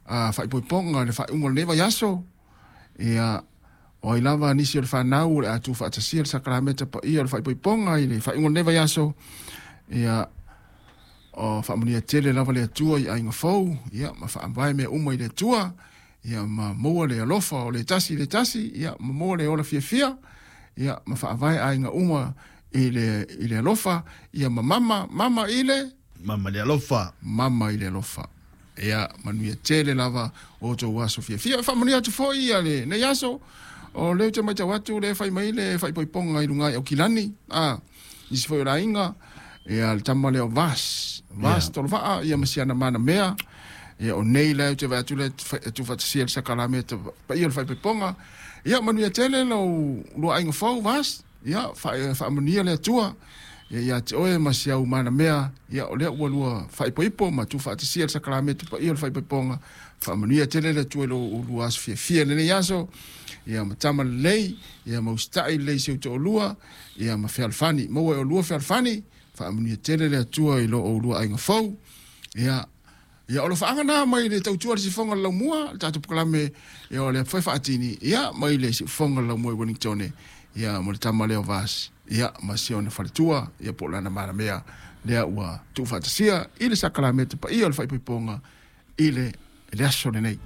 Faaipoipoga i le faaiuga o lenei vaiaso. Ia, o ai lava nisi o le fanau o le a tuufaatasia le sakalameta paia o le faaipoipoga i le faaiuga o lenei vaiaso. Ia, o faamanuia tele lava le Atua i aiga fou, ia, ma faavae mea uma i le Atua, ia, ma maua le alofa o le tasi i le tasi, ia, ma maua le ola fiafia, ia, ma faavae aiga uma i le alofa, ia, ma mama, mama i le Mama le alofa. Mama i le alofa. Ia, manuia tele lava o outou aso fiafia. E faamanuia atu foi ia lenei aso, o lea ou te matau atu lea e fai mai le faaipoipoga i luga i Aukilani, a, nisi foi o le aiga, ia, le tama lea o Vas, Vas yeah. Tolovaa, ia ma siana mana mea. Ia, o nei la ou te vaai atu le tuufaatasia le sakalameta paia o le faaipoipoga. Ia, manuia tele lou lua aiga fou, Vas. Ia, faamanuia le Atua ia ia te oe ma si au manamea. Ia, o lea ua lua faaipoipo ma tuufaatasia le sakalameta paia o le faaipoipoga. Faamanuia tele le Atua i lou lua aso fiafia i lenei aso. Ia, ma tama lelei, ia ma usitai lelei i si ou toalua, ia ma fealofani. Maua e oulua fealofani, faamanuia tele le Atua i lo oulua aiga fou. Ia, Ia, o alofaaga na mai le tautua le sifoga le laumua, le tatou pkalame, ia o le foi faatini, ia mai le sifoga le laumua i Wellington, ia mo le tama lea o Vas, ia ma siona faletua, ia po o lana malamea, lea ua tuufaatasia i le sakalameta paia o le faaipoipoga i le aso lenei.